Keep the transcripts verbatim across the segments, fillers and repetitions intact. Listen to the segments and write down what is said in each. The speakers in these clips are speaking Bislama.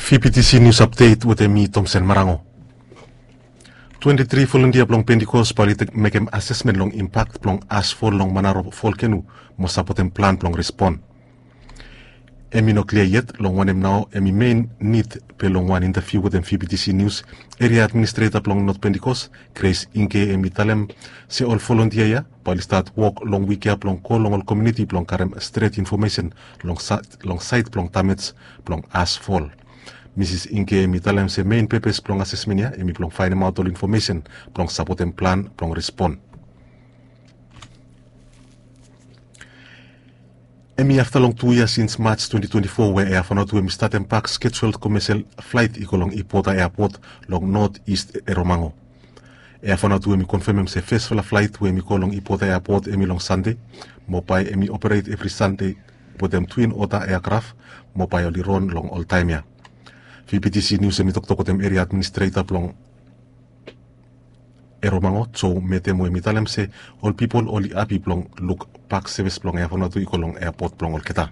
Fifty C News Update wetem mi, Tomsen Marango. Twenti tri volontia blong Pentikos bae oli mekem asesmen long impak blong asfol long Manaro volkeno mo sapotem plan blong respon. Hemi no klia yet long wanem nao hemi mein nid. Be long wan intaviu wetem Fifty C News, eria administreta blong Not Pentikos, Grace Inge, hemi talem se ol volontia ya bae oli stat wok long wik ya blong go long ol komuniti blong karem stret infomesen long saed blong damej blong asfol. Misis Inge hemi talem se mein pepes blong asesmen ya hemi blong faenemaot ol infomesen blong sapotem plan blong respon. Hemi afta long tu yia sins Maj twenti twenti fo we Ea Vanuatu hemi statem bak skejul komesel flaet i go long Ipota eapot long Not Ist Eromango. Ea Vanuatu hemi konfemem se fesfala flaet we hemi go long Ipota eapot hemi long Sande, mo bae hemi operet evri Sande wetem twin ota eakraf, mo bae oli ron long ol taem ya. Fifty C News hemi toktok wetem eria administreta blong Eromango, Joe Mete, mo hemi talem se ol pipol oli hapi blong luk bak sevis blong Ea Vanuatu i go long eapot blong olgeta.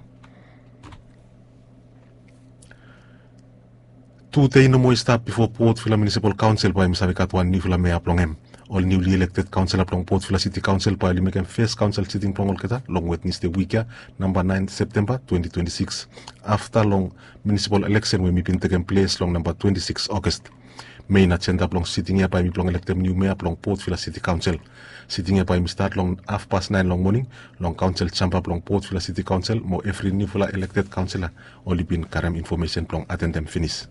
Tu dei nomo i stap bifo Port Vila Munisipal Kaonsel bae hemi save gat wan niufala mea blong hem. Ol niuli elekted kaonsela blong Port Vila Siti Kaonsel bae oli mekem fes kaonsel siting blong olgeta long Wednesde wik ya, namba naen Septemba twenti twenti sikis, afta long munisipal eleksen we hemi bin tekem ples long namba twenti sikis August. Mein ajenda blong siting ya bae hemi blong elektem niu mea blong Port Vila Siti Kaonsel. Siting ya bae hemi stat long hafpas naen long moning long kaonsel jamba blong Port Vila Siti Kaonsel, mo evri niufala elekted kaonsela oli bin karem infomesen blong atendem finis.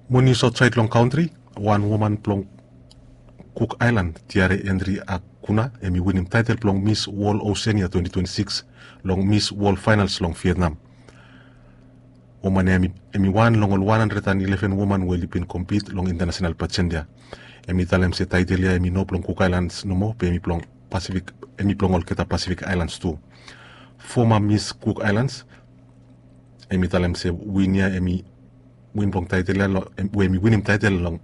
Mo nius aotsaed long kantri, wan woman blong Cook Aelan, Tiare Henry Akuna, hemi winim taetel blong Mis Wol Osenia twenti twenti sikis long Mis Wol Faenals long Vietnam. Woman ya hemi wan long ol wan handred and ileven woman we oli bin kompit long intanasenal pajent ya. Hemi talem se taetel ya hemi no blong Cook Aelans nomo, be hemi blong Pasifik, hemi blong olgeta Pasifik Aelans tu. Foma Mis Cook Aelans hemi talem se win ya hemi win blong taetel ya we hemi winim taetel long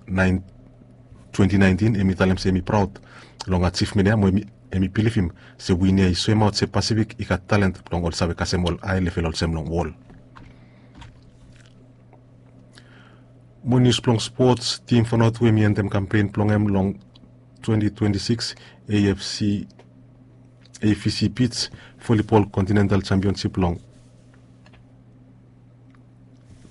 twenti naentin, hemi talem se hemi praod long ajivmen ya, mo hemi bilivim se win ya i soemaot se Pasifik i gat talent blong oli save kasem ol hae level olsem long wol. Mo nius blong spots, tim Vanuatu hemi endem kampen blong hem long twenti twenti sikis A F C, A V C Beach Volleyball Continental Championship long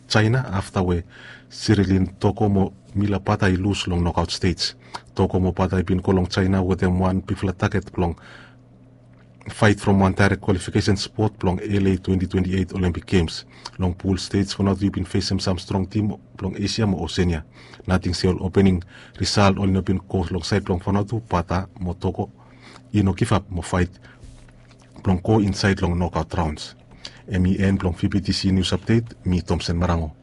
Jaena, afta we Sirilin Toko mo Mila Bata i lus long nokaot stej. Toko mo Bata i bin go long Jaena wetem wan bigfala taget blong faet from wan daerek kwalifikesen spot blong L A twenti twenti eit Olympic Games. Long pul stej, Vanuatu i bin fesem sam strong tim blong Esia mo Osenia. Nating se ol opening risalt oli no bin go long saed blong Vanuatu, Bata mo Toko i no givap mo faet blong go insaed long nokaot raons. Hemi en blong V B T C News Update, mi Tomsen Marango.